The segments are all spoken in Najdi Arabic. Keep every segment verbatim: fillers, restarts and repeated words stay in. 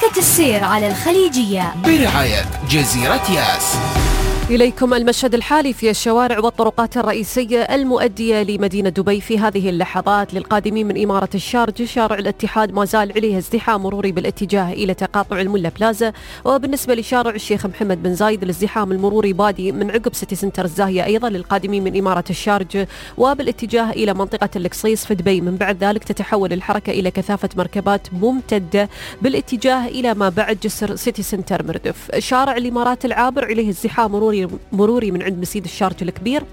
حركة السير على الخليجية برعاية جزيرة ياس. إليكم المشهد الحالي في الشوارع والطرقات الرئيسية المؤدية لمدينة دبي في هذه اللحظات. للقادمين من إمارة الشارجة شارع الاتحاد ما زال عليه ازدحام مروري بالاتجاه إلى تقاطع الملا بلازا، وبالنسبة لشارع الشيخ محمد بن زايد الازدحام المروري بادي من عقب سيتي سنتر الزاهية أيضا للقادمين من إمارة الشارجة، وبالاتجاه إلى منطقة القصيص في دبي. من بعد ذلك تتحول الحركة إلى كثافة مركبات ممتدة بالاتجاه إلى ما بعد جسر سيتي سنتر مردف. شارع الإمارات العابر عليه ازدحام مروري مروري من عند مسيد الشارجة الكبير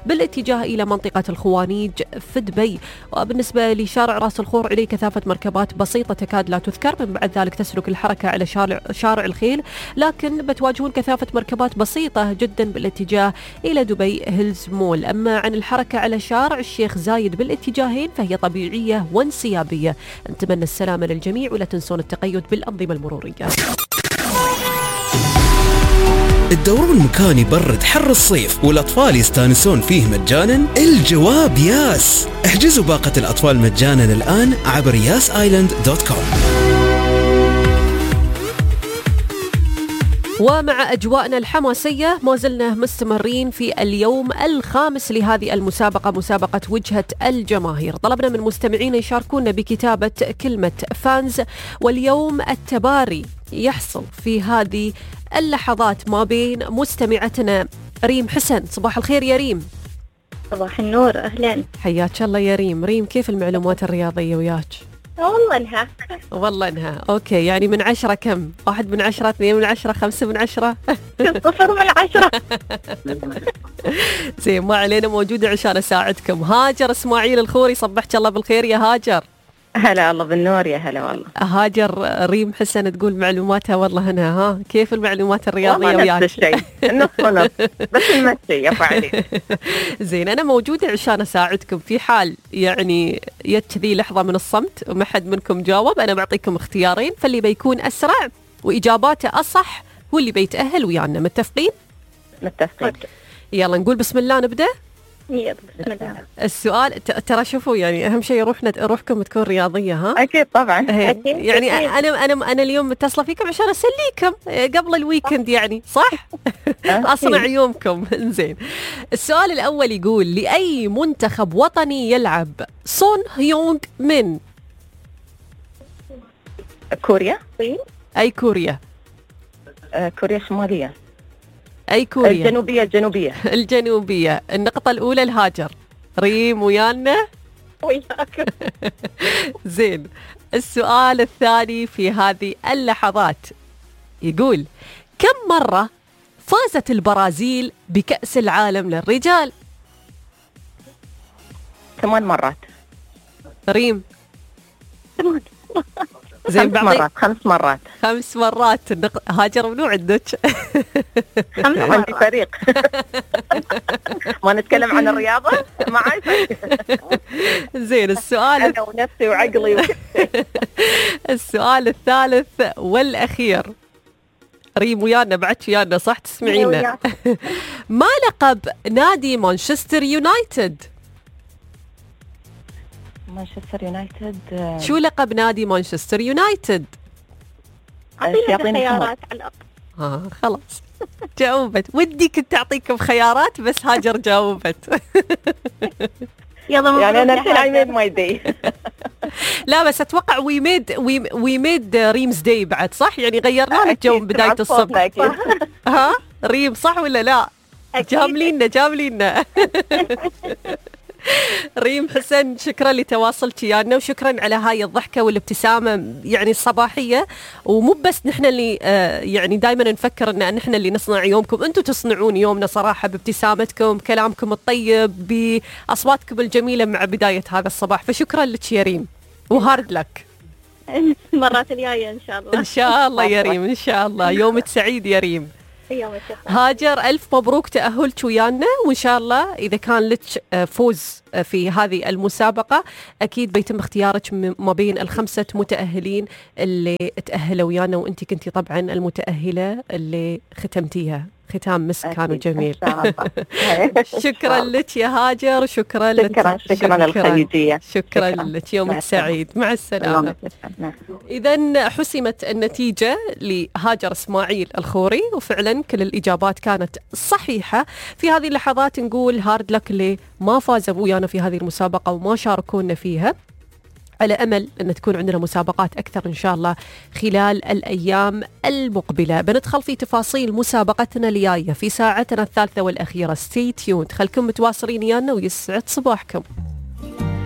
بالاتجاه إلى منطقة الخوانيج في دبي. وبالنسبة لشارع راس الخور عليه كثافة مركبات بسيطة تكاد لا تذكر. من بعد ذلك تسلك الحركة على شارع, شارع الخيل، لكن بتواجهون كثافة مركبات بسيطة جدا بالاتجاه إلى دبي هيلز مول. أما عن الحركة على شارع الشيخ زايد بالاتجاهين فهي طبيعية وانسيابية. نتمنى السلامة للجميع ولا تنسون التقيد بالأنظمة المرورية. الدورون مكان يبرد حر الصيف والأطفال يستانسون فيه مجانا؟ الجواب ياس. احجزوا باقة الأطفال مجانا الآن عبر ياس آيلاند دوت كوم. ومع أجواءنا الحماسية ما زلنا مستمرين في اليوم الخامس لهذه المسابقة، مسابقة وجهة الجماهير. طلبنا من مستمعين يشاركونا بكتابة كلمة فانز، واليوم التباري يحصل في هذه اللحظات ما بين مستمعتنا ريم حسن. صباح الخير يا ريم. صباح النور، أهلا. حياك الله يا ريم. ريم كيف المعلومات الرياضية وياك؟ والله انها والله انها اوكي. يعني من عشرة كم؟ واحد من عشرة، اثنين من عشرة، خمسة من عشرة؟ صفر من عشرة. زين، ما علينا، موجودة عشان اساعدكم. هاجر اسماعيل الخوري، صبحك الله بالخير يا هاجر. هلا الله بالنور، يا هلا والله. هاجر ريم حسن تقول معلوماتها والله هنا. ها كيف المعلومات الرياضية وياك؟ نفس الشيء، نص ونص، بس المشي يا عليك. زين، أنا موجودة عشان أساعدكم في حال يعني جت ذي لحظة من الصمت وما حد منكم جاوب. أنا بعطيكم اختيارين، فاللي بيكون أسرع وإجاباته أصح هو اللي بيتأهل ويانا. متفقين؟ متفقين. يلا نقول بسم الله نبدأ. يلا بسم الله. السؤال ترى شوفوا، يعني أهم شيء روحنا روحكم تكون رياضية. ها أكيد طبعا. أكيد. يعني أكيد. أنا أنا أنا اليوم متصلة فيكم عشان أسليكم قبل الويكند، يعني صح؟ أصنع يومكم. إنزين، السؤال الأول يقول: لأي منتخب وطني يلعب سون هيونغ من؟ كوريا. أي كوريا؟ آه كوريا الشمالية. أي كوريا؟ الجنوبية. الجنوبية. الجنوبية. النقطة الأولى الهاجر. ريم ويانا؟ وياك. زين، السؤال الثاني في هذه اللحظات يقول: كم مرة فازت البرازيل بكأس العالم للرجال؟ ثمان مرات. ريم؟ ثمان. زين، خمس مرات. خمس مرات. خمس مرات. النق... هاجر منو عندك؟ خمس مرات. عندي فريق. ما نتكلم عن الرياضة معي. زين، السؤال أنا ونفسي وعقلي و... السؤال الثالث والأخير. ريم ويانا بعد ويانا صح؟ تسمعينا. ما لقب نادي مانشستر يونايتد؟ مانشستر يونايتد. شو لقب نادي مانشستر يونايتد؟ يعطيني خيارات على الأقل. ها خلاص جاوبت. ودي كنت أعطيكم خيارات بس هاجر جاوبت. يعني أنا الحين I made my day. لا بس أتوقع we made we, we made ريمز داي بعد، صح؟ يعني غيرنا لك جو من بداية الصبح. ها ريم صح ولا لا؟ جاملينا جاملينا. ريم حسن، شكرا لتواصلك ويانا، وشكرا على هاي الضحكة والابتسامة يعني الصباحية. ومو بس نحن اللي آه يعني دائما نفكر ان نحن اللي نصنع يومكم، انتم تصنعون يومنا صراحة بابتسامتكم، بكلامكم الطيب، بأصواتكم الجميلة مع بداية هذا الصباح. فشكرا لك يا ريم، وهارد لك. المرات الجاية إن شاء الله. إن شاء الله يا ريم، إن شاء الله. يومك سعيد يا ريم. هاجر ألف مبروك تأهلك ويانا، وإن شاء الله إذا كان لك فوز في هذه المسابقة أكيد بيتم اختيارك ما بين الخمسة متأهلين اللي تأهلوا ويانا، وأنت كنتي طبعا المتأهلة اللي ختمتيها ختام مسك كان جميل. شكرا شكرا لك يا هاجر، شكرا لك. شكرا شكرا للخليجية. شكرا لك، يومك سعيد، مع السلامة. إذا حسمت النتيجة لهاجر إسماعيل الخوري، وفعلا كل الإجابات كانت صحيحة. في هذه اللحظات نقول هارد لك اللي ما فازوا ويانا في هذه المسابقة وما شاركونا فيها، على أمل أن تكون عندنا مسابقات أكثر إن شاء الله خلال الأيام المقبلة. بندخل في تفاصيل مسابقتنا الجاية في ساعتنا الثالثة والأخيرة. ستي تيوند، خلكم متواصلين ويانا ويسعد صباحكم.